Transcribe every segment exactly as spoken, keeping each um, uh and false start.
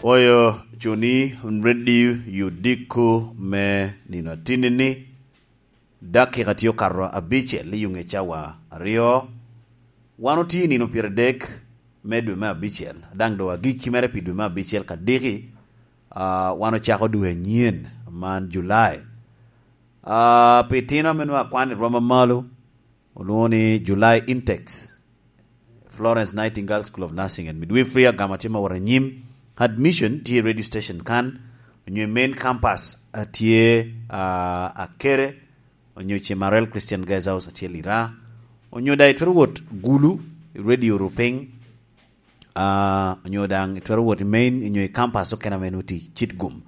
Oyo cuni, ready, yudiko me nino atinni-ni. Dakika tye okato abicel i yuŋ i cawa aryo. Wan otye i nino pyeradek me dwe me abicel, daŋ doŋ agikki mere pi dwe me abicel kadiki. Ah, wan ocako dwe anyen man, Julai. Ah, pi tino ame nwoŋo akwan i rwom amalo, olwoŋo ni July Intex, Florence Nightingale School of Nursing and Midwifery, agamo tye ma wot anyim. Admission tye i radio station kan, onyo i main campus, ah, tye, ah, Akere, onyo Chemarel Christian Guest House atye Lira, onyo daŋ itwero wot Gulu, i Radio Rupiny, ah, onyo daŋ itwero wot i main, onyo i campus okene ame nwoŋo tye Kitgum.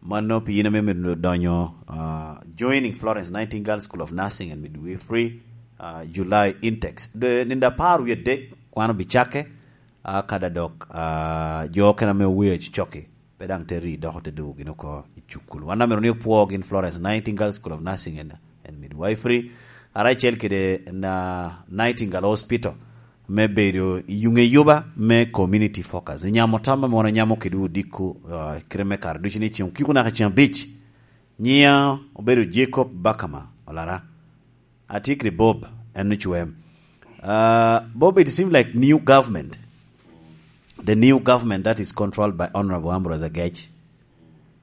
Mano pi in ame myero donyo, ah, joining Florence Nightingale School of Nursing and Midwifery, ah, July Intex. De, nino apar wie adek, kwan obicakke, ah, kada dok, ah, jo okene ame oweyo cocokki, pe daŋ te ri dok te dwogo gin oko i cukul. Wan amito ni opwo gin Florence Nightingale School of Nursing and, and Midwifery, aracel kede na Nightingale Hospital, me bedo i yuŋ eyuba me community focus. I nyamo tam ame wan onyamo kede odiko, ah, kite me kare ducu ni ceŋ okiko naka ceŋ abic. Nyiŋa obedo Jacob Bakama Olara. Atye kede Bob, en ocwem. Ah, Bob, it seems like new government, the new government that is controlled by Honorable Ambrose Agech.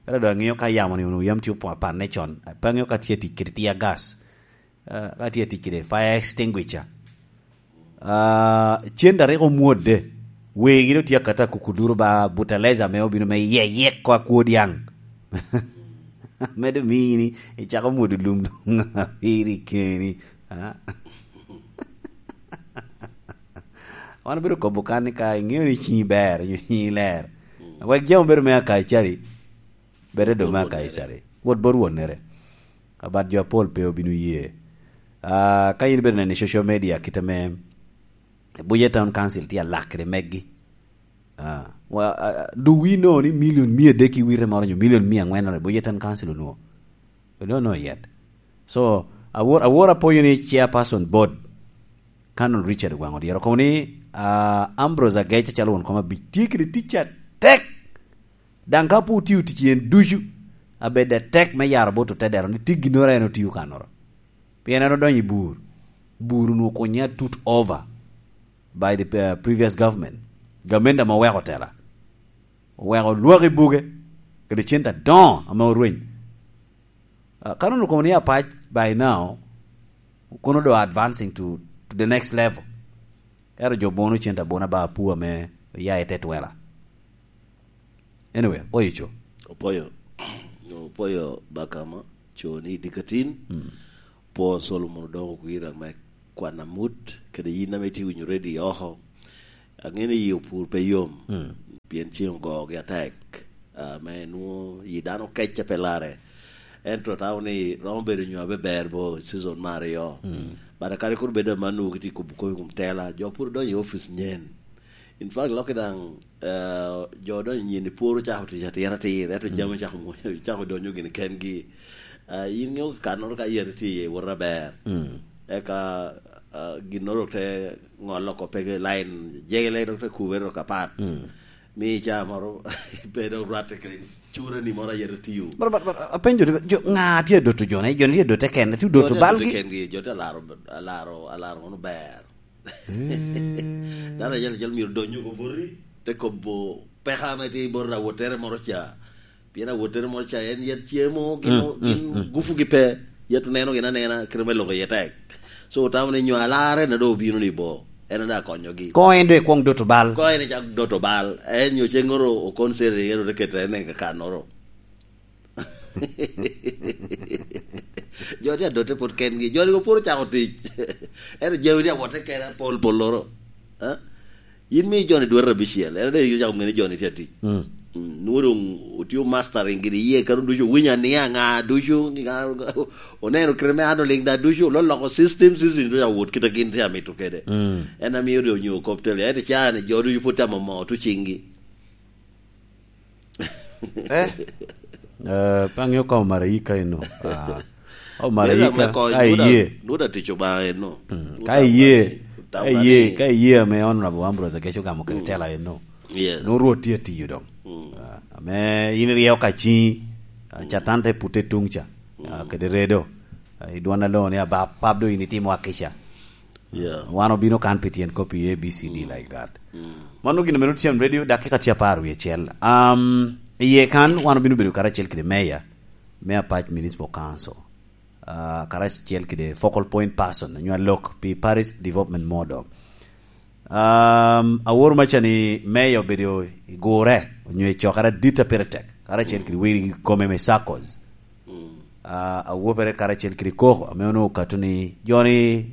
Ela doŋ aŋeo ka yamo ni onwoŋo yam tye opo-, apanne con. Pe aŋeo ka tye tic kede tear gas. Ah, ka tye tic kede fire extinguisher. Ah, cen a rik omwodde, wegi doŋ tye akata kuku duro ba butaleza ame obino me yeyek ko akwo dyaŋ. Medo mini icako mwodo lum doŋ apiri keni. Ah. Wan obedo kobo kan ni ka iŋeo ni ciŋi ber, onyo ciŋi ler. Wek jami obedo me Akaicari, bed edo me Akaicari. Wot bot wonnere. Abat jo apol pe obino ye. Ah, ka in ibedo neno i social media, kit ame Abuja Town Council tye alak kede meggi. Ah, wa, ah, do we know ni milion mia adek i wite moro, onyo milion mia aŋwen moro Abuja Town Council onwoŋo? We don't know yet. So, awor, awor apoyo ni chairperson board, Canon Richard Ogwaŋ Odyero, kono ni, ah, Ambrose Agech acalo won kom abic tye kede tic atek. Daŋ ka pe otio tic yen ducu, abed atek me yaro bot otedero ni tye ginnoro en otio kanoro. Pien en odonyo i bur. Bur onwoŋo okunye atut over by the, uh, previous government. Gamente ame oweko tela. Oweko lwak i buge, kede cente adoŋo ame orweny. Ah, ka nwoŋo kono ni apac by now, kono do advancing to, to the next level. Ero jo bono cente abono ba apu ame oya i te twela. Anyway, oyo co. Opoyo. Opoyo Bakama, co ni dikatin. Mm. Po Solomon Odongo Kwira me kwan amut, kede yin ame itye winyo ready oko. Aŋeo ni yi opur pe yom, mm, pien ceŋ ogogi atek, ah, me nwoŋo yi dano kec a pe larre. Ento tamo ni romo bedo nyo abe ber bo season me aryo. Mm. But kadi kur bedo amanno kitye kubo kop i kom tela, jo pwod odonyo i office nyen. In fact, loki daŋ, eh, jo odonyo nyen i pworo cako tic atir atir, ento, mm, jami cako mwonya, cako donyo gini kengi. Eh, in ŋeo kanoro ka yati tye iye wot aber. Mm. Eka, eh, ginnoro te ŋolo oko pe line jegele dok te kubere dok apat. Mm. Mi ca moro pe dok rwatte kede curani moro a yati tiyo. But, but, but, apenjo ni, jo, ŋa tye adoto jone? Jo ni tye adote kene, tye odoto balgi? Jo tye adote kengi, jo tye alaro, alaro, alaro ŋono ber. Eh. Dano acel acel myero odony oko boti, te kobo peko ame tye i bot awottere moro ca. Pien awottere moro ca en yet cemo, gin, mm, gin, mm, gufugi pe. Yet oneno gin anena, kite me loko iye tek. So, otamo ni nyo alarre na doŋ obino ni bo, en a daŋ akonyogi. Ko en doŋ ekwoŋ doto bal. Ko en ecak doto bal. En nyo ceŋŋoro okonseri, en ote keto en i kakannoro. Jo tye adote pwod kengi. Jo-ni pwod ocako tic. Ento jami tye awotte kene apol polloro. Eh? Yin mi jo-ni dwete abicel. Ento dek icako ŋeni jo-ni tye atic. Mm. Mm, nwoŋo doŋ otio mastering gini iye, kano ducu owinyo aniya ŋa ducu, ŋa, oneno kite me handling da ducu, ololoko system, system ducu awot kite gin tye amito kede. Mm. En amio de onyo kop tele. Ento ca-ni jo ducu pwod tye amomo tuciŋgi. Eh? Eh, pe aŋeo ka omaraika eno. Ah. Omaraika, ka iye. Nuda tic Obaŋa eno. Mm, ka iye, ka iye, ka iye ame Honorable Ambrose Agech ogamo kede tela eno. Yes. No Rwot tye atiyo doŋ. Mm. Me in iryeyo ka ciŋi, ah, Catan te pute tuŋ ca, ah, kede redo. Ah, i dwon aloŋo ni, "Aba, pap do in itimo akica." Yeah. Wan obino kan pi tyen kop i A B C D like that. Mano gin omeno tyen radio, dakika tye apar wie acel. Um, iye kan wan obino bedo karacel kede meya me Apac Municipal Council. Ah, karacel kede focal point person, onyo alok pi Parish Development Model. Um, awor maca ni meya obedo i gure, onyo i cokere adit a pire tek, karacel kede wegi kome me circles. Ah, awopere karacel kede koko, ame onwoŋo okato ni jo ni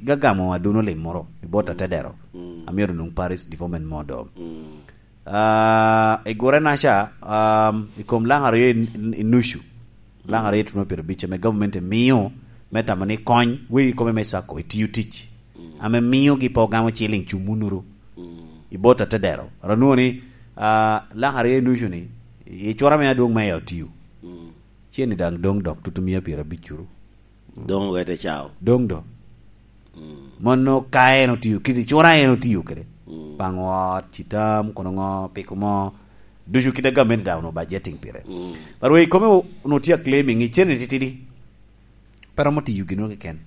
gagamo aduno lim moro i bot atedero, ame onwoŋo Parish Development Model. Ah, i gure naca, um, i kom laŋ aryo i, i nucu, laŋ aryo i tuno pire bic ame government emio me tamo ni kony wegi kome me circle i tiyo tic, ame miogi pe ogamo ciling cum onuru i bot atedero. Aro nwoŋo ni, ah, laŋ aryo i nucu ni, i cura me adwoŋ meya otiyo. Cen ni daŋ doŋ dok tutumia pire abic curu. Doŋ wete cao. Doŋ do. Mon no ka en otiyo, kit i cura en otiyo kede. Paŋo ot, citam, kono ŋo, piko mo. Ducu kit a gamente daŋ onwoŋo budgeting pire. But wei kome onwoŋo tye a claiming i cene titidi. Pe romo tiyo gino keken.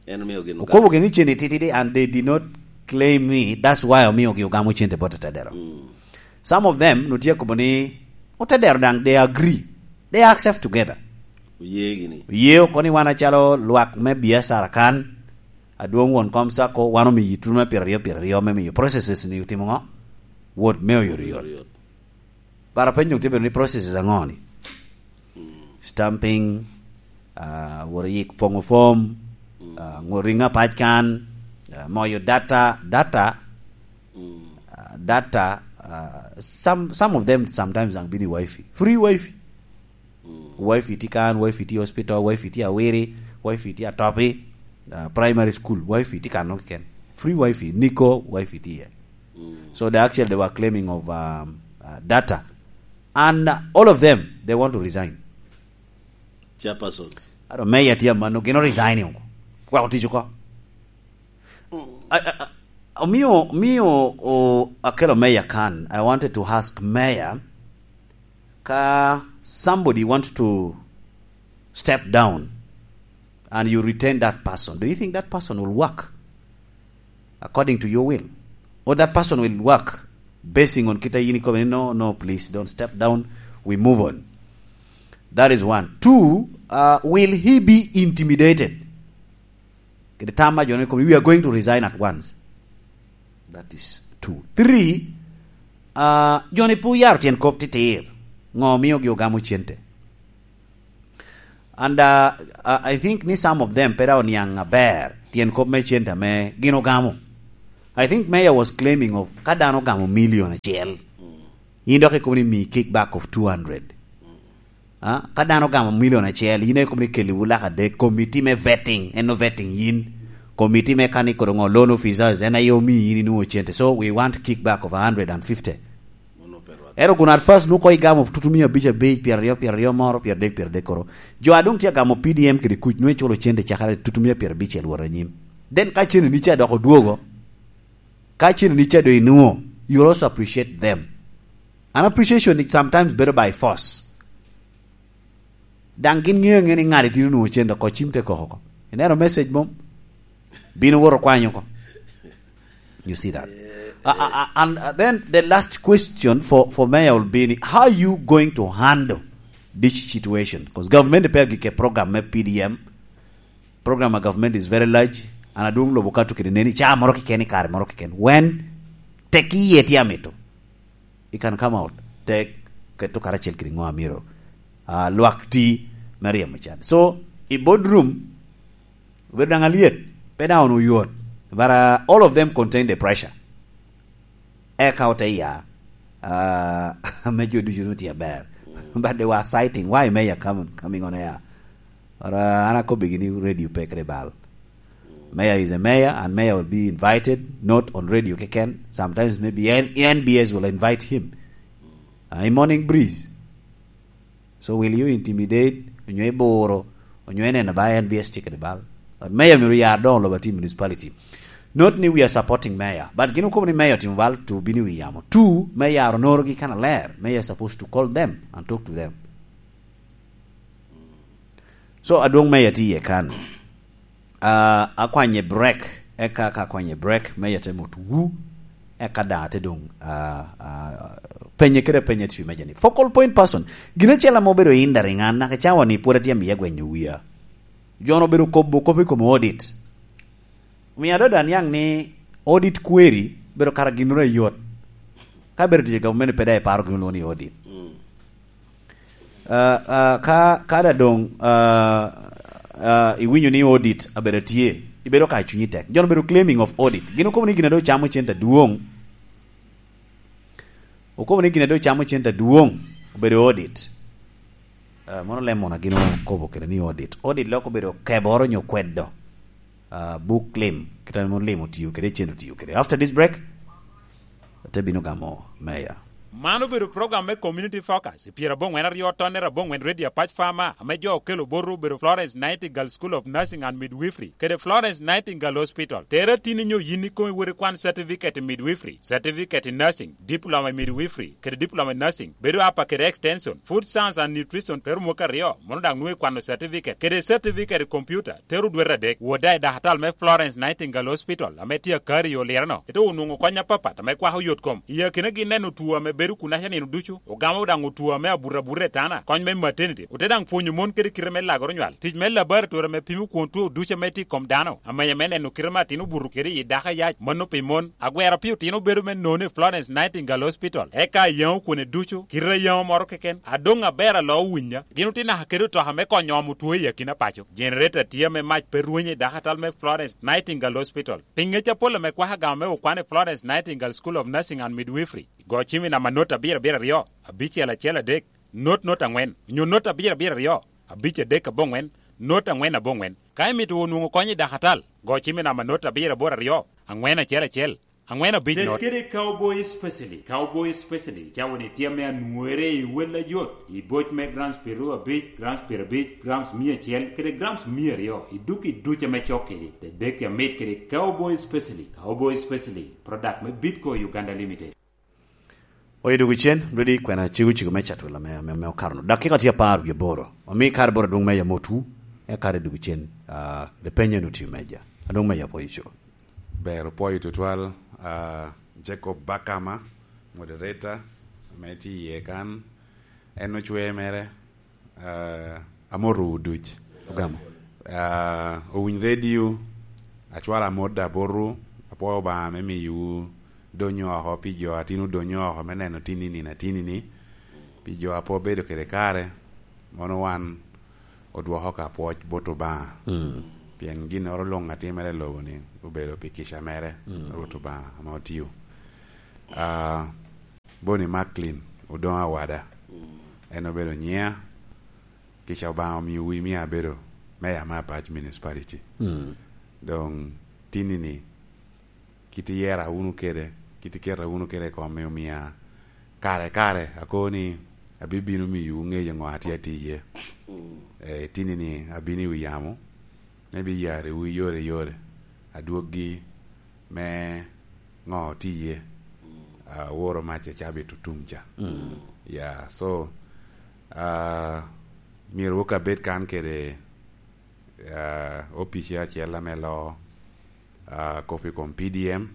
En omio gin okobo gini cene titidi, and they did not claim me. That's why omio gi ogamo cente bot atedero. Some of them no tye akobo ni otedero daŋ they agree. They accept together. Oye gini. Oye oko ni wan acalo lwak me biacara kan, adwoŋ won kom sako, wan omiyi tuno me pire aryo, pire aryo me miyo processes ni otimo ŋo? Wot me oyotoyot. Bara penyo tye bedo ni processes aŋo ni? Stamping, ah, wot yik poŋo form, ah, ŋo ringo apac kan, ah, moyo data, data, ah, data, ah, some, some of them sometimes ang bini wifi. Free wifi. Wifi tye kan, wifi tye hospital, wifi tye awiri, wifi tye atopi, ah, primary school, wifi tye kan keken. Free wifi, niko wifi tye iye. So they actually, they were claiming of, um, uh, data. And, uh, all of them, they want to resign. Chairperson. Aro meya tye amano, gin o resign oko. Wek otic oko. I, I, I, omio, omio, o, akelo meya kan. I wanted to ask meya, ka somebody want to step down and you retain that person, do you think that person will work according to your will? Or that person will work basing on kita yini kome, "No, no, please, don't step down. We move on." That is one. Two, uh, will he be intimidated? Kede tam ma jo ni kome, "We are going to resign at once." That is two. Three, uh, jo ni pe oyaro tyen kop titir. Ŋo omio gi ogamo cente? And, uh, I I think ni some of them pe daŋ oniaŋ aber tyen kop me cente ame gin ogamo. I think Mayor was claiming of ka dano ogamo million acel, in dok ikobo ni mi kick back of two hundred. Ah, ka dano ogamo million acel, in ikobo ni keliwu lak adek, committee me vetting, en o vetting yin. Committee me kani kod ŋo, loan officers, en aye omi yin inwoŋo cente. So we want kick back of a hundred and fifty. Ero kun at first nu ko igamo tutu mia abic abic, pyeraryo, pyeraryo moro, pyeradek, pyeradek koro. Jo a doŋ tye agamo P D M kede kuc, nu iculo cente cakere tutu mia pyerabicel wot anyim. Then ka cene ni ca dok odwogo, ka cene ni ca do inwoŋo, you will also appreciate them. An appreciation ni sometimes bedo by force. Daŋ gin ŋeo aŋe ni ŋat itino nwoŋo cente oko, cim te koko oko. Ineno message mom? Bino woto kwanyo oko. You see that? Uh, uh, uh, and, uh, then the last question for, for Mayor will be ni, how you going to handle this situation? 'Cause government pe agike program me P D M. Program of government is very large. And adwoŋ lobo kato kede neni ca moro keken i kare moro keken. When tek iye tye amito, you can come out. Tek keto karacel kede ŋo amiro, ah, lwak ti me ryemo can. So, i boardroom, obedo daŋ alyet, pe daŋ onwoŋo yot. But, uh, all of them contain the pressure. Eka ote ya, uh, ame jo ducu nwoŋo tye aber. But they were citing, "Why Mayor coming, coming on air?" Or, uh, an akobbigi ni radio pe kede bal. Mayor is a mayor, and mayor will be invited, not on radio keken. Sometimes maybe N-, N B S will invite him. Uh, in morning breeze. So will you intimidate, onyo iburo, onyo ineno ba N B S tye kede bal? But mayor myero yar doŋ lobo ati municipality. Not ni we are supporting mayor, but gin okobo ni mayor timo bal to bino i wi yamo. Two, mayor onorogi kan aler. Mayor is supposed to call them and talk to them. So, adwong mayor tye iye kan. Ah, akwanye break, eka ka akwanye break, mayor te mot wu, eka daŋ ate doŋ, ah, ah, penye kede penye tye meja ni. Focal point person, gin acel ame obedo hindering an, naka cawa ni pwod atye amiya gwenyo wia. Jo-nu obedo kobo kop i kom audit. Omio adada aniaŋ ni audit query bedo kara ginnoro ayot. Ka bedo tic i gavumenti pe daŋ iparo gin olwoŋo ni audit. Ah, ah, ka, ka daŋ doŋ, ah, ah, iwinyo ni audit abedo tye, ibedo ka cunyi tek. Jo-nu obedo claiming of audit. Gin okobo ni gin a doŋ ocamo cente adwoŋ. Okobo ni gin a doŋ ocamo cente adwoŋ obedo audit. Ah, mono lem mono gin okobo kede ni audit. Audit lok obedo keboro nyo kwedo, ah, buk lim, kit ame lim otiyo kede, cen otiyo kede. After this break, ate bino gamo mayor. Man obedo program me Community Focus, i pyerabongwen aryo tonnere abongwen Radio Apac Farmer, ame jo okelo botwu obedo Florence Nightingale School of Nursing and Midwifery, kede Florence Nightingale Hospital. Tere atini nyo yin ikomi wot ikwan certificate i midwifery, certificate i nursing, diploma i midwifery, kede diploma i nursing, bedo apa kede extension, food science and nutrition, tero mwaka aryo, mono daŋ nwoŋo ikwano certificate, kede certificate i computer, tero dwete adek. Wot daŋ i dakatal me Florence Nightingale Hospital, ame tye akari i Olireno. Ite onwoŋo kony apapat ame kwako yot kom. I akinagi neno two ame bedo kunaca nino ducu, ogamo daŋ two ame abuto abuta i tana, kony me maternity, ote daŋ pwonyo mon kede kite me lagoro nywal. Tic me laboratory ame pimo kwon two ducu ame tye i kom dano, amenya me neno kite me atin obuto kede i dako ayac, mano pi mon. Agwero pi otino bedo me nono i Florence Nightingale Hospital, eka yaŋo kwone ducu, kite a yaŋo moro keken, adoŋ aber alo owinya. Gin otye naka kede otoka me konyo omo two i akina paco. Generator tye ame mac pe rwenyo i dakatal me Florence Nightingale Hospital. Pi ŋec apol ame kwako agama me okwan i Florence Nightingale School of Nursing and Midwifery, go cim i namba not abiro abiro aryo, abicel acel adek, not not angwen, onyo not abiro abiro aryo, abic adek abongwen, not angwen abongwen. Ka imito onwoŋo kony i dakatal, go cim i namba not abiro aboro aryo, angwen acel acel, angwen abic not. Ted kede Cowboy Specialty. Cowboy Specialty cawa-ni tye ame anwore i wel ajot, i boc me grams pyeraryo abic, grams pyerabic, grams mia acel, kede grams mia aryo, i duk i duc ame cok kedi. Tedeki amit kede Cowboy Specialty. Cowboy Specialty, product me Bitco Uganda Limited. Oye dwogo cen, Redi kwena cego cego me catwel ame, ame, ame okato-nu. Dakika tye apar wie aboro. Omi kare bot adwoŋ me yam otwu, eka kare dwogo cen, ah, the penyo no tye meja. Adwoŋ me yam oye co. Ber opwoyo tutwal, ah, Jacob Bakama, moderator, ame tye iye kan. En ocwe mere, ah, amotowu duc. Ogamo. Ah, owiny redio, acwalo amot abotowu, apwoyo Obaŋa me miyowu donyo oko pi jo a tin odonyo oko me neno tin i nino atini-ni. Pi jo a pe obedo kede kare, mono wan odwoko ka pwoc bot Obaŋa. Mm. Pien ginnoro luŋ a timere i lobo-ni obedo pi kica mere, mm, Rwot Obaŋa ame otio. Ah, Bonnie Macklin, Odoŋo Awada. Mm. En obedo nyiŋa, kica Obaŋa omio wi mia abedo meya me Apac Municipality. Mm. Doŋ tinni-ni, kit iyera wunu kede, kit iketa wunu kede i kome omia kare kare akobo ni abibino miyowu ŋeyo ŋo atye atye iye. Mm. Eh, tinni-ni abino i wi yamo, me biyariwu i yore yore, adwoggi me ŋo tye iye, mm, ah, woro mac i cabit otum ca. Mm. Ya, so, ah, myero wok abed kan kede, ah, opice acel ame loo, ah, kop i kom P D M. Mm.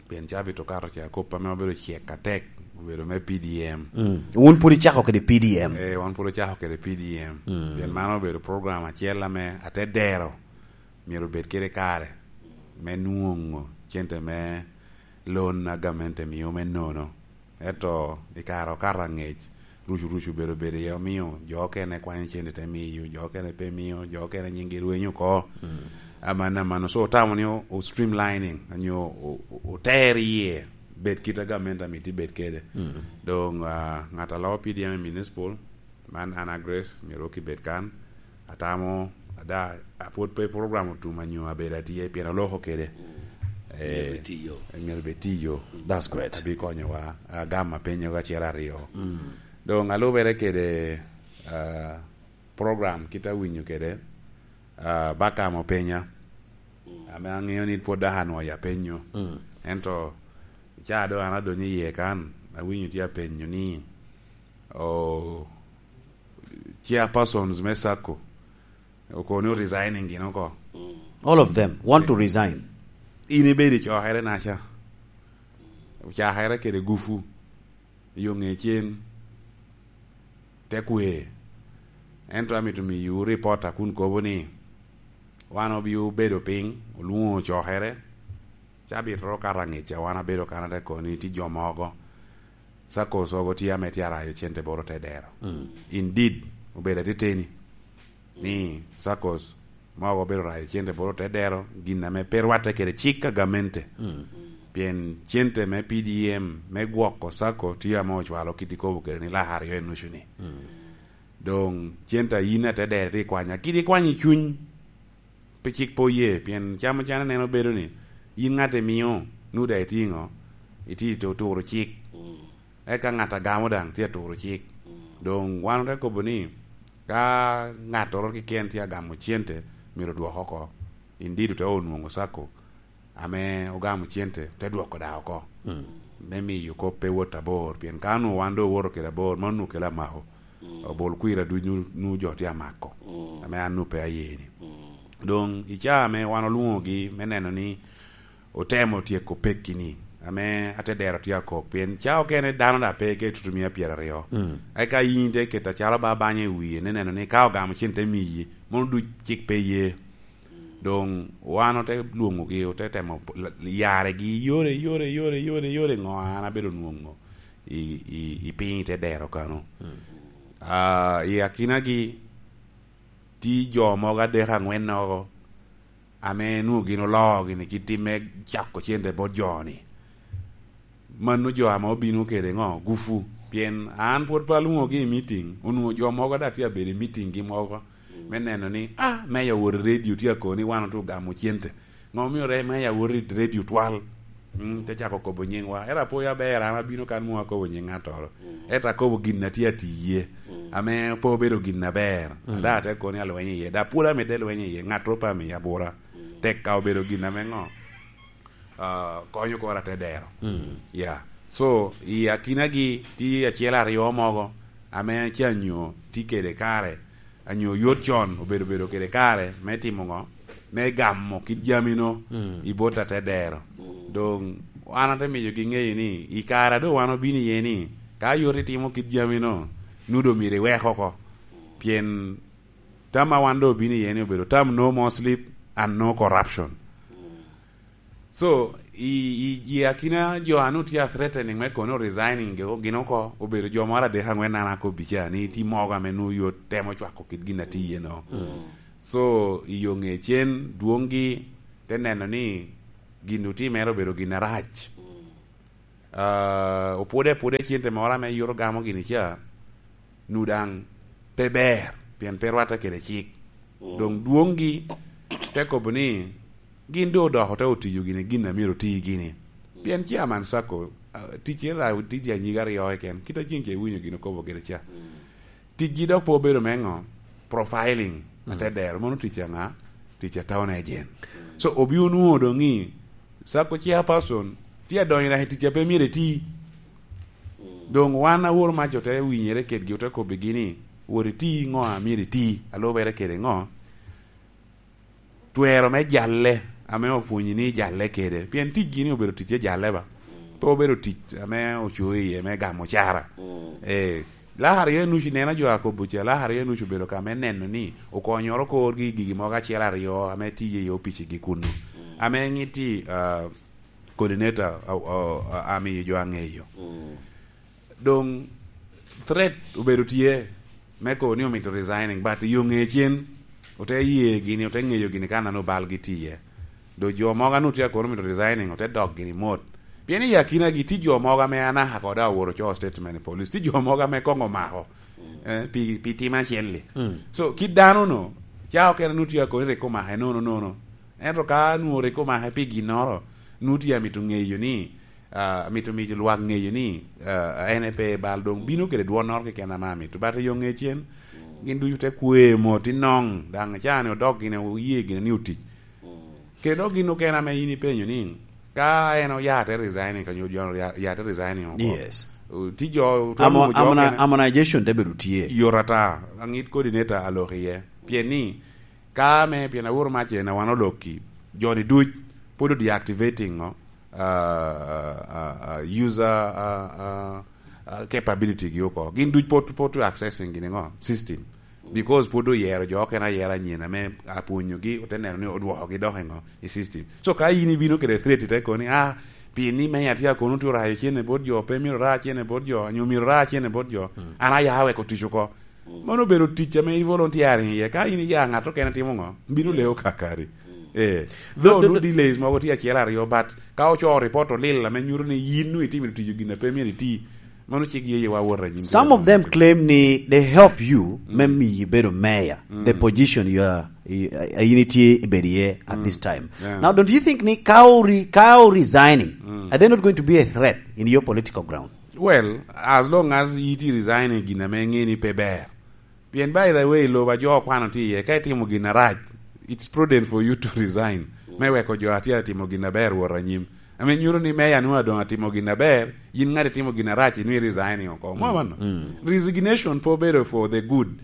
Pien cabit okato ca kop ame obedo cek atek, obedo me P D M. Mm. Wun pwod icako kede P D M? Eh, wan pwod ocako kede P D M. Mm. Pien mano obedo program acel ame ate dero myero obed kede kare me nwoŋo cente me loan a gamente mio me nono. Ento i kare okato aŋec, rucu rucu bedo bedo iye, omiyo jo okene kwanyo cente te miyo, jo okene pe miyo, jo okene nyinggi rwenyo oko. Mm. Aman, aman, so otamo ni o, o streamlining, onyo o, o, oter iye, bed kit a gamente amito ibed kede. Mm. Doŋ, ah, ŋat a loo P D M i municipal, man Anna Grace, myero wok ibed kan. Atamo, ada, apwod pe program otum anyo abedo atye, pien oloko kede. Mm. Eh, myero bed tiyo. Myero bed tiyo. That's great. Abi konyowa, agam apenyo acel aryo. Mm. Doŋ alubere kede, ah, program kit awinyo kede, ah, Bakam openya. Ame aŋeo ni pwod dok anwoŋo ya penyo. Mm. Ento, ca doŋ an adonyo iye kan, awinyo tye apenyo ni, o, chairpersons me sacco, okobo ni resigning gin oko. All of them want to resign. In ibedo i cokere naca. Ocakere kede gufu. Yo ŋe cen. Te kwe. Ento amito miyo report a kun kobo ni, wan obio bedo piny, olwoŋo cokere, ca bitoro kato aŋeca, wan abedo kan ate kobo ni tye jo mogo, saccos ogo tye ame tye arayo cente boro te dero. Mm. Indeed, obedo ateteni ni saccos mogo obedo rayo cente boro te dero, gin ame pe rwatte kede cik a gamente. Mm. Pien cente me P D M, me gwoko sacco, tye ame ocwalo kit ikobo kede ni lak aryo enucu ni. Mm. Doŋ cente a yin ate dero tye ikwanya, kit ikwanyo i cuny, pe cik pe oye, pien camo can aneno bedo ni, yin ŋat imio, nu daŋ itye ŋo, itye to-, turo cik. Mm. Eka ŋat a gamo daŋ tye aturo cik. Mm. Doŋ wan ote kobo ni, ka ŋattoro keken tye agamo cente, myero odwok oko. Indeed ote onwoŋo sacco ame ogamo cente, te dwoko daŋ oko. Mm. Me miyo kop pe wot abor, pien ka onwoŋo wan doŋ owoto kede abor, mano onwoŋo kelo amako. Mm. Obol kwira duc nu, nu jo tye amako, mm, ame an nu pe aye ni. Mm. Doŋ i caa ame wan olwoŋogi me neno ni otemo tyeko pekki-ni, ame ate dero tye akok, pien caa okene dano daŋ pe ka itutu mia pyeraryo. Mm. Eka yin te keto acalo ba banya i wie, ni neno ni ka ogamo cen te miyi, mono duc cik pe ye. Doŋ wan ote lwoŋogi, ote temo p-, l-, yaregi, yore, yore, yore, yore, yore, ŋo an abedo nwoŋo i, i, i piny i te dero kano. Mm. Ah, i akinagi, tye jo mogo adek aŋwen nogo, ame nwoŋo gin oloo gini kit tim me cako cente bot jo-ni. Mano jo ame obino kede ŋo? Gufu. Pien an pwod pe alwoŋogi i meeting, onwoŋo jo mogo daŋ tye abedo i meeting gi mogo, mm, me neno ni, ah, meya wot i redio tye akobo ni wan otye ogamo cente. Ŋo omio re meya wot i redio twal? Mm, te cako kobo nyiŋwa. Ero apoyo aber, an abino kan mom akobo nyiŋ ŋattoro. Mm. Ento akobo gin a tye atiye, mm, ame pe obedo gin aber. Mm. Ada ate kobo ni alweny iye, da pwod amedde lweny iye, ŋattoro pe amiyo abura. Mm. Tek ka obedo gin ame ŋo? Ah, konyo kora te dero. Mm. Yeah. So, i akinagi tye acel aryo mogo ame canyo tye kede kare, anyo yot con obedo bedo kede kare me timo ŋo? Me gamo kit jamino, mm, i bot ate dero. Mm. Doŋ an ate miyogi ŋeyo ni i kare a doŋ wan obino iye ni, ka yot itimo kit jamino, nu doŋ myero iwek oko. Pien tam a wan doŋ obino iye ni obedo tam no more sleep and no corruption. Mm. So, i, i, i akina jo a nwoŋo tye a threatening me kono resigning ge-, gin oko, obedo jo moro adek aŋwen an akobbi ca, ni tye mogo ame nwoŋo yot temo cwako kit gin a tye iye no. Mm. So, i yo ŋe cen, dwoŋgi te neno ni gin otimere obedo gin arac. Mm. Ah, opwode apwoda i cente moro ame yot ogamo gini ca, nu daŋ pe ber, pien pe rwatte kede cik. Mm. Doŋ dwoŋgi te kobo ni gin doŋ odoko te otiyo gini gin a myero oti gini. Mm. Pien chairman sacco, ah, ticce ra tye anyiga aryo keken, kit a ceŋ ce iwinyo gin okobo kede ca. Mm. Ticgi dok pe obedo me ŋo? Profiling, mm, ate dero. Mano tic aŋa? Tic a town agent. Mm. So, obino nwoŋo doŋ ni, sacco chairperson tye adonyo dok i tic a pe myero eti. Mm. Doŋ wan awor mac ote winyere kedgi, ote kobbigi ni, wot iti ŋo a myero iti, alubere kede ŋo? Twero me jalle ame opwonyi ni jalle kede. Pien ticgi ni obedo ticce jalle ba. Mm. Pe obedo tic ame ocoyo iye me gamo cara. Mm. Eh, lak aryo enucu, neno jo akobo ca, lak aryo enucu obedo ka me neno ni okonyoro korgi i gigi mogo acel aryo ame tiye i opicigi kunnu. Mm. Ame ŋitti, ah, coordinator, ah, ah, ah, amiyo jo aŋeyo. Mm. Doŋ threat obedo tye me kobo ni omito resigning, but i yo ŋe cen, ote ye gini, ote ŋeyo gini ka nano balgi tye iye. Doŋ jo mogo a nwoŋo tye akobo ni omito resigning, ote dok gini mot. Pien i akinagi tye jo mogo ame anaka kodo awoto ocoo statement i police. Tye jo mogo ame koŋ omako, eh, pi, pi tim acel-li. Mm. So, kit dano-nu, ca okene nwoŋo tye akobo ni rik omake nono nono. Ento ka nwoŋo rik omake pi ginnoro, nwoŋo tye amito ŋeyo ni, ah, amito miyo lwak ŋeyo ni, ah, en pe bal doŋ bino kede dwonnoro keken ame amito. But i yo ŋe cen, gin ducu te kwe mot i noŋ, daŋ ca-ni odok gin oye gin ni otic. Mm. Kede dok gin okene ame in ipenyo ni, ka en oya te resigning, ka nyo jo ya, ya te resigning oko. Yes. O, ti jo, otwal Amo-, nwoŋo jo amona-, okene. Amortization te bedo tye. Yot ata, aŋit coordinator alok iye. Pien ni, ka ame, pien aworo mac en, a wan olokki, jo-ni duc, pwod o deactivating, no? Uh, uh, uh, uh, user, uh, uh, uh, capability gi oko. Gin duc pwod, pwod accessing gini ŋo? System. Because pwod oyero jo okene ayera anyen ame apwonyogi, ote neno ni odwokogi dok i ŋo? I system. So ka in ibino kede threat, ite kono ni, "Ah, pien ni meya tye akono tye orayo cene bot jo, pe myero ra cene bot jo, nyo myero ra cene bot jo, an aya weko tic oko." Mano obedo tic ame i volunteering iye. Ka in iya ŋat okene timo ŋo? Bino leo kakari. Eh, though do, do, do delays mogo tye acel aryo, but ka ocoo report olil ame nyuto ni yin nwoŋo itimo tic gin a pe myero iti, mano cik yeyewa wot anyim. Some of them claim ni they help you me miyi bedo mayor, the position you are, i, a, a in itye ibedo iye at this time. Yeah. Now, don't you think ni ka ori-, ka o resigning, are they not going to be a threat in your political ground? Well, as long as iti resigning gin ame ŋe ni pe ber. Pien, by the way, lobo a jo okwano tye iye, ka itimo gin arac, it's prudent for you to resign, me weko jo a tye atimo gin aber wot anyim. Ame nyuto ni meya nwoŋo adoŋ atimo gin aber, yin ŋat itimo gin arac, inwi resigning oko. Mo mano? Resignation pe obedo for the good.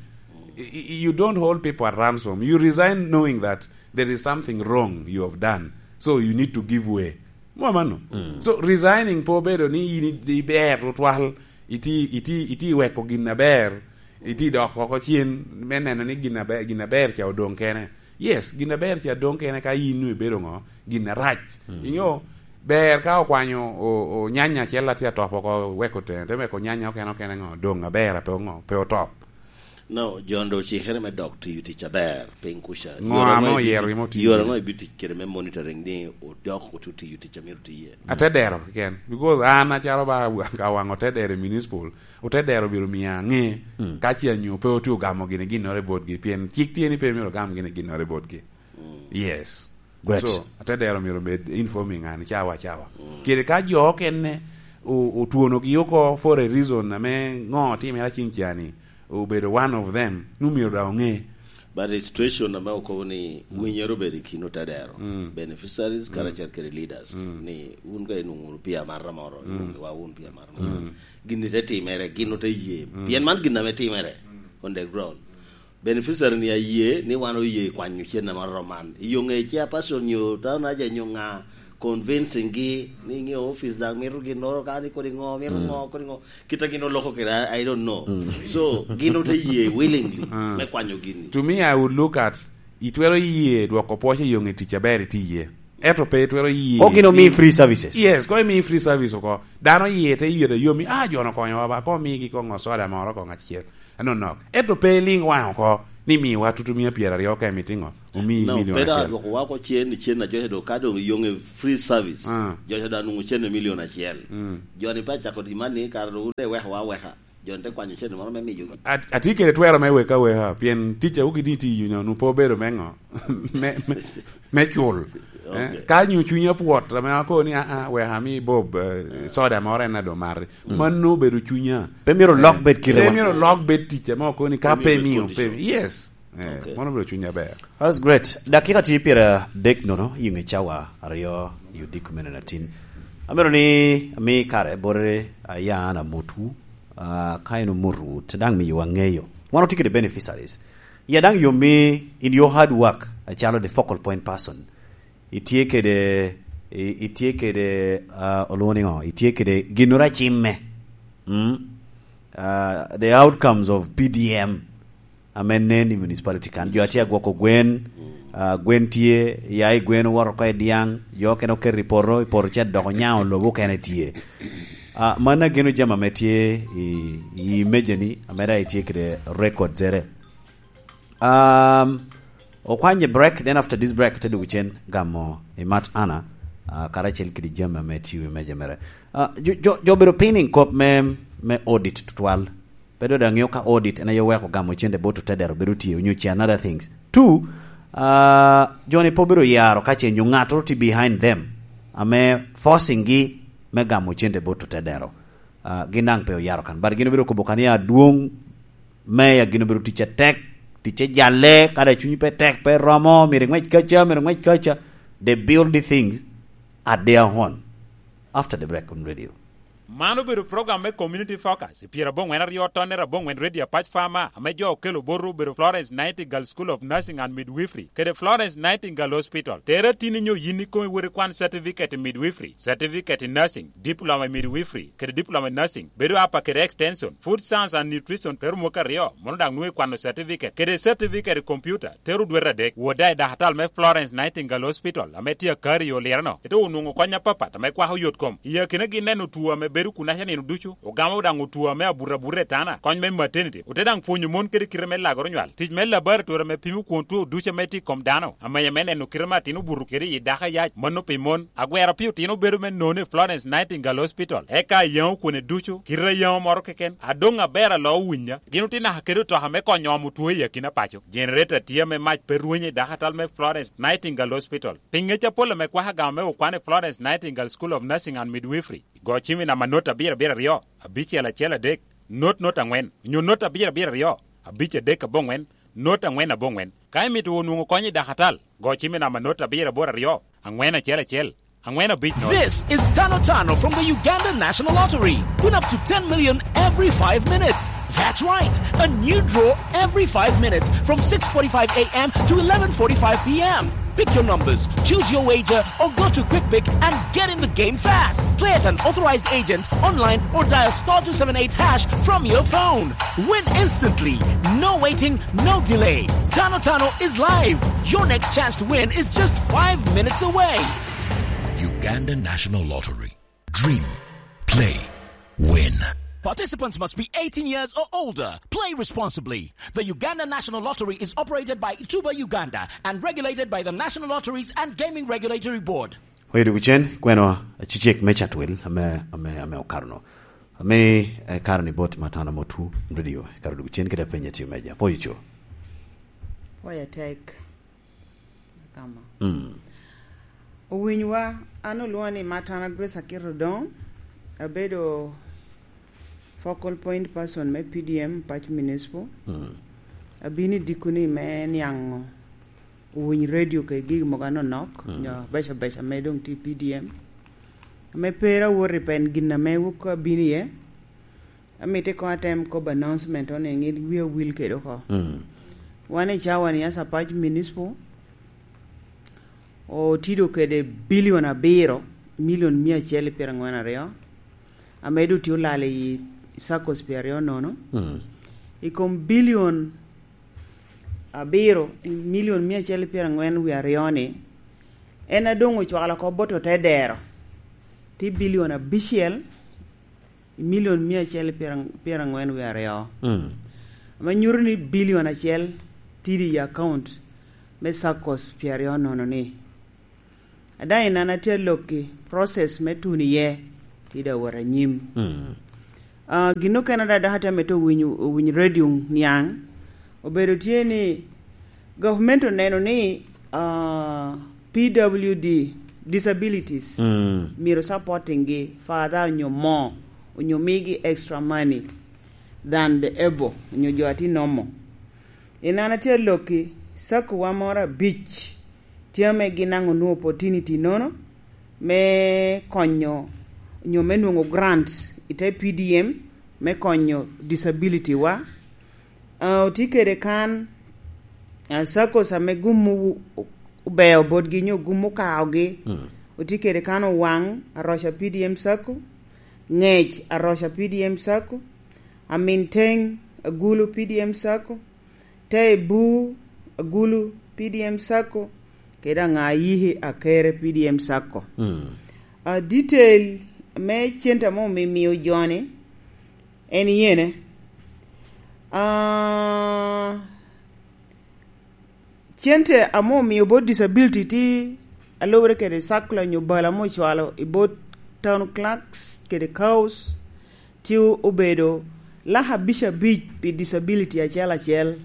I, i, you don't hold people at ransom. You resign knowing that there is something wrong you have done. So you need to give way. Mo mano? So, resigning pe obedo ni in i-, iber tutwal, iti, iti, iti weko gin aber, iti dok oko cen, me neno ni gin aber, gin aber ca odoŋ kene. Yes, gin aber ca doŋ kene ka in nwoŋo ibedo ŋo? Gin arac. Inyo, ber ka okwanyo o, o nyanya acel atye atop oko, weko tene, te weko nyanya okene okene ŋo? Doŋ aber, a pe ŋo? Pe otop. No, John, doŋ ocikere me dok tiyo tic aber piny kuca. Ŋo ame oyero imo tiyo? Yore ŋo ibi tic kede me monitoring ni odok otu tiyo tic a myero tiye? Atedero keken, because an acalo ba ka waŋ otedero i municipal, otedero biro miyo aŋe ka ce anyo pe otye ogamo gini ginnoro i botgi, pien cik tye ni pe myero ogam gini ginnoro i botgi. Yes. Great. So, atedero myero omed informing an cawa cawa. Kede ka jo okene o-, otwonogi oko for a reason ame ŋo otimere acing cani, obedo one of them, nu myero daŋ oŋe. But the situation ame okobo ni winyere obedo i kin otedero, beneficiaries, karacel kede leaders, ni wun ka inwoŋo wunu pi amata moro, inwoŋo wa wun pi amata moro. Gin ni te timere, gin ote ye. Pien man gin ame timere on the ground. Beneficiary ni aye ni wan oye kwanyo cen ame oromo man. Yo ŋe chairperson nyo town aja nyo ŋa convincing gi ni ŋe office daŋ mito ginnoro ka ni kodi ŋo, mito ŋo, kodi ŋo. Kita gin oloko kede, I, I don't know. So, gin ote ye willingly me kwanyo gini. To me, I would look at, itwero ye dwoko pwoc i yo ŋe tic aber iti ye. Ento pe itwero ye. O gin omi free services. Yes, ko imi free service oko. Dano ye te yot ayomi, "Ah, jo-no okonyowa ba, ko omigi ko ŋo soda moro ko ŋat acel." Anonok. Ento pe iliŋ waŋ oko ni miwa tutu mia pyeraryo ka imito ŋo? Omiyi No, milion pe da acel. Dwoko wa ko cen, cen a joca do ka dong iyoŋe free service. Ah. Joca do anwoŋo cen milion acel. Jo-ni pe acako di man ni kara do wun de weko wa weka. Jo-ni te kwanyo cen moro me miyogi. At-, atye kede twero me weka weka, pien tic a wugi ni tiyo nyo, nu pe obedo me ŋo? Me, me, me cul. Eh, okay. Ka nyo cunya pwot, ame akobo ni, "Ah, ah, wek ami Bob, eh, soda moro en ado mari." Mm. Mano obedo cunya. Pe myero lok bed kite. Pe myero lok bed tic ame okobo ni ka pe miyo, pe, yes. Eh, okay. Mano obedo cunya ber. That's great. Dakika tye pyeradek nono, i ŋe cawa aryo, i odiko mene na tin. Amito ni ami kare bote, ah, ya an amotwu, ah, ka en omotu, te daŋ miyo waŋeyo. Wan otye kede beneficiaries. Ya daŋ yom mi in your hard work, acalo the focal point person. Itye kede, i-, itye kede, ah, olwoŋo ni ŋo? Itye kede ginnoro a cimme. Mm? Ah, the outcomes of P D M ame nen i municipality kan. Jo atye agwoko gwen, ah, gwen tye, ya i gwen owoto oko i dyaŋ, jo okene oketo i poto, i poto ce dok onyaŋo lobo okene tye. Ah, man ageno jami ame tye i, i mejani, ame daŋ itye kede records ere. Um, okwanye break, then after this break, te dwogo cen gamo i mat Anna, ah, karacel kede jami ame tye i wi meja mere. Ah, jo, jo, jo obedo pinning kop me, me audit tutwal. Pe doŋ aŋeo ka audit en aye oweko gamo cente bot otedero bedo tye, onyo ce another things. Two, ah, jo-ni pe obedo yaro ka ce nyo ŋattoro tye behind them, ame forcing gi me gamo cente bot otedero. Ah, gin daŋ pe oyaro kan. But gin obedo kobo kan ya adwoŋ, meya gin obedo tic atek, ticce jalle, kadi cunyi pe tek, pe romo, myero iŋwec kaca, myero iŋwec kaca. They build the things at their own. After the break on radio. Man obedo program me Community Focus, i pyeraboŋwen aryo tonnere aboŋwen Radio Apac Farmer, ame jo okelo botwu obedo Florence Nightingale School of Nursing and Midwifery, kede Florence Nightingale Hospital. Tere atini nyo yin ikomi wot ikwan certificate i midwifery, certificate i nursing, diploma i midwifery, kede diploma i nursing, bedo apa kede extension, food science and nutrition, tero mwaka aryo, mono daŋ nwoŋo ikwano certificate, kede certificate i computer, tero dwete adek. Wot daŋ i dakatal me Florence Nightingale Hospital, ame tye akari i Oliro-no, ite onwoŋo kony apapat ame kwako yot kom. I akinagi neno two ame bedo kunaca nino ducu, ogamo daŋ two ame abuto abuta i tana, kony me maternity, ote daŋ pwonyo mon kede kite me lagoro nywal, tic me laboratory ame pimo kwon two ducu ame tye i kom dano, amenya me neno kite me atin obuto kede i dako ayac, mano pi mon. Agwero pi otino bedo me nono i Florence Nightingale Hospital, eka ayaŋo kwone ducu, kite ayaŋo moro keken, adoŋ aber alo owinya. Gin otye naka kede otoka me konyo omo two i akina paco. Generator tye ame mac pe rwenyo i dakatal me Florence Nightingale Hospital. Pi ŋec apol ame kwako agama me okwan i Florence Nightingale School of Nursing and Midwifery, go cim i namba not abiro abiro aryo, abicel acel adek, not not angwen, onyo not abiro abiro aryo, abic adek aboŋwen, not angwen aboŋwen. Ka imito onwoŋo kony i dakatal, go cim i namba not abiro aboro aryo, angwen acel acel, angwen abic not. This is Tano Tano from the Uganda National Lottery. Win up to ten million every five minutes. That's right, a new draw every five minutes from six forty-five a m to eleven forty-five p m. Pick your numbers, choose your wager, or go to QuickPick and get in the game fast. Play at an authorized agent, online, or dial star two seven eight hash from your phone. Win instantly. No waiting, no delay. Tano Tano is live. Your next chance to win is just five minutes away. Uganda National Lottery. Dream. Play. Win. Participants must be eighteen years or older. Play responsibly. The Uganda National Lottery is operated by Tuba Uganda and regulated by the National Lotteries and Gaming Regulatory Board. Oyo dugicen, kweno acicek me Chatwel, ame, ame, ame okaro no. Ame, eh, karo ni bot Matana Motu Radio, karo dugicen kede apenye tiyo meja. Poyo co. Poyo tek. Kama. Mm. Owinywa, an olwoŋa ni Matana Grace Akito Odong, abedo focal point person me P D M Pac Municipal. Mm. Abino i dikoni me niaŋo owiny radio kede gigi mogo anonok, mm, nyo abeco abeco ame doŋ tye i P D M. Ame pera wot i pen gin ame wok abino iye. Amito koŋ atem kobo announcement one, ŋit wi awil kede oko. Mm. Wan i cawa ni Asapac Municipal otido kede bilion abiro, milion mia acel i pyeraŋwen aryo, ame doŋ tye olal i saccos pyeraryo nono. Mm. I kom bilion abiro, milion mia acel i pyeraŋwen wie aryo ni, en a doŋ ocwalo oko bot otedero, tye bilion abicel, i milion mia acel pyera-, pyeraŋwen wie aryo. Mm. Ame nyuto ni bilion acel tye i account me saccos pyeraryo nono ni. Ada i nan atye alokki, process me tuno iye tye daŋ wot anyim. Mm. Ah, gin okene ada dok atye amito winyo, winyo radio niaŋ, obedo tye ni government oneno ni, ah, P W D, disabilities, mm, myero supporting gi further onyo more, onyo migi extra money than the able, onyo jo a tye normal. I nan atye alokki, sacco wa moro abic tye ame gin daŋ onwoŋo opportunity nono me konyo, onyo me nwoŋo grant i te P D M me konyo disability wa. Ah, otye kede kan, ah, saccos ame gum o-, obeo botgi nyo gum okaogi. Mm. Otye kede kan Owaŋ, Aroca P D M sacco, Ŋec, Aroca P D M sacco, Aminteng, Agulu P D M sacco, Tebu, Agulu P D M sacco, kede Aŋayiki, Akere P D M sacco. Mm. Ah, detail me cente ame omimio joni, en yene. Ah, cente ame omio bot disability tye alubere kede circular nyo bal ame ocwalo i bot town clerks kede cows, tye obedo lak abic abic pi disability acel acel.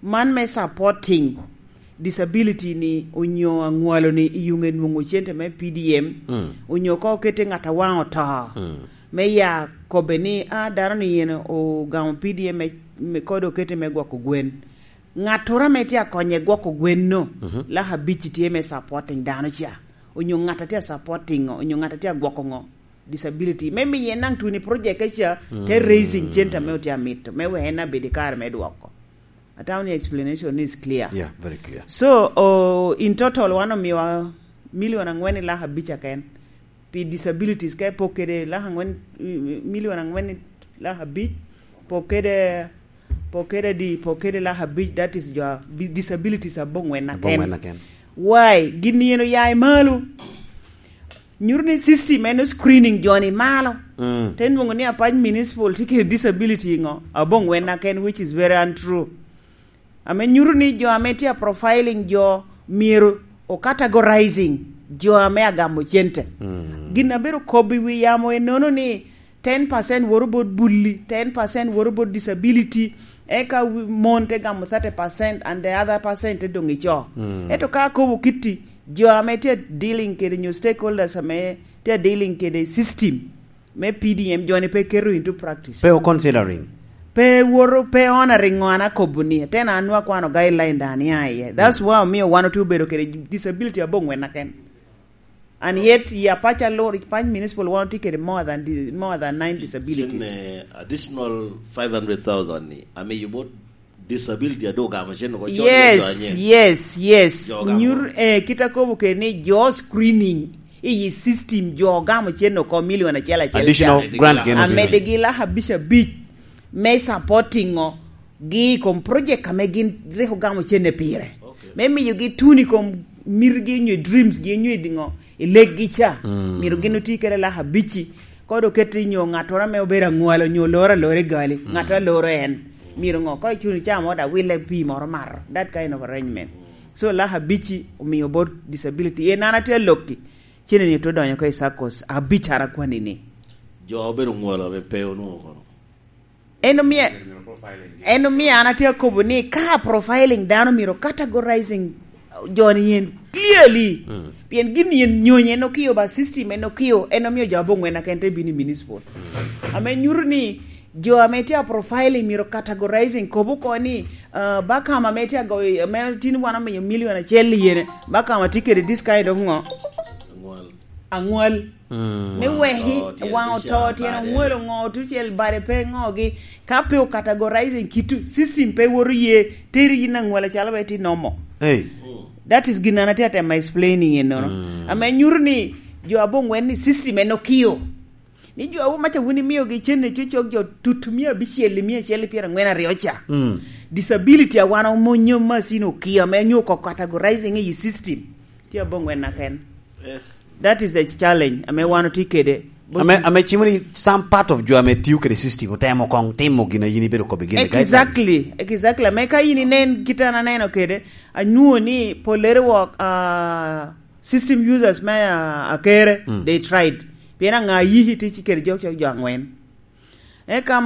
Man me supporting disability ni onyo aŋwalo ni i yuŋe nwoŋo cente me P D M, mm, onyo ka okete ŋat a waŋ oto, mm, me ya kobbe ni, "Ah, dano ni yen ogamo P D M me, me kode okete me gwoko gwen." Ŋattoro ame tye akonye gwoko gwenno, laka abic tye me supporting dano ca, onyo ŋat a tye a supporting ŋo, onyo ŋat a tye a gwoko ŋo, disability. Me miye naŋ tuni project ka ca, te raising center me otye amito, me wek en abed i kare me dwoko. Atamo ni explanation is clear. Yeah, very clear. So, oh, in total, wan omiwa milion angwen i laka abic aken. Pi disabilities, ka ipok kede laka angwen, milion angwen i laka abic, pok kede, pok kede di, pok kede laka abic, that is your bi-, disabilities abongwen aken. Abongwen aken. Why? Gin yen oya i malo. Nyuto ni system en screening joni malo. Mm. Te nwoŋo ni Apac Municipal tye kede disability ŋo? Abongwen aken, which is very untrue. Ame nyuto ni jo ame tye a profiling jo myero o categorizing jo ame agamo cente. Mm. Gin a bedo kobbi wi yamo ennono ni ten percent woro bot bulli, ten percent woro bot disability, eka wi-, mon te gamo thirty percent and the other percent te doŋ i co. Mm. Ento ka akobo kitti, jo ame tye dealing kede nyo stakeholders ame tye dealing kede system, me P D M joni pe keto into practice. Pe o considering. Pe woro, pe honoring ŋo an akobo ni. Ten an nwa kwano guideline dan ya iye. That's why omio wan otye obedo kede disability abongwen aken. And yet, ya pacha lor, pany municipal wan otye kede more than di-, more than nine disabilities. Cen, eh, additional five hundred thousand ni, amiyo bot disability a doŋ ogamo cen oko, jo Yes, anye. Yes, yes. Jo ogamo. Nyur, eh, kit akobo kede ni jo screening i system jo ogamo cen oko milion acel acel. Additional ca. Grant gen obino. Amedegi laka abic abic me supporting o gi i kom project ame gin rik ogamo cen pire. Okay. Me miyogi tuni i kom mirgi nyo dreams gi nyo i diŋo i leggi ca. Mm. Myero gin oti kede laka abici. Kod oket i nyo ŋattoro ame obedo aŋwalo nyo oloro alora i gali. Mm. Ŋattoro aloro en. Myero ŋo? Ka icuno icamo da wille pii moro mato. That kind of arrangement. So, laka abici omio bot disability. En an atye alokki. Cene ni to donyo ka i saccos. Abic ara kwani ni. Jo obedo ŋwalo ame pe onwoŋo kono. En omio, en omio an atye akobo ni ka profiling dano myero categorizing joni yen clearly. Mm. Pien gin yen nyonyo en okio ba system en okio, en omio jo abongwen aken te bino i municipal. Mm. Ame nyuto ni jo ame tye a profiling myero categorizing, kobo ko ni, uh, bakam ame tye agoyo, ame tin wan omiyo milion acel i yene, bakam atye kede this kind of ŋo? Aŋwal. Aŋwal. Mm. Me weki, waŋ oto, tyen oŋwalo ŋo, tucel bade pe ŋogi. Ka pe o categorizing kitu, system pe woto ye, teri yin aŋwal acalo be ti nomo. Hey. That is gin an atye atemo explaining enono. Mm. Ame nyuto ni jo abongwen ni system en okio. Ni jo awo maca wun imiogi cen ni cucok jo tut mia abicel i mia acel i pyeraŋwen aryo ca. Mm. Disability a wan omonyo masino okio ame nyo ko categorizing i system. Tye abongwen aken. Eh. That is a challenge ame wan otye kede. Ame, ame cimo ni some part of jo ame tiyo kede system otemo kong timo gin a yin ibedo kobbi gin i guidelines. Exactly, exactly. Ame ka yin inen kit an aneno kede, anwoŋo ni pollere wok, ah, system users me, ah, Akere, mm, they tried. Pien aŋa yiki tic kede jo, jo, jo aŋwen. Eka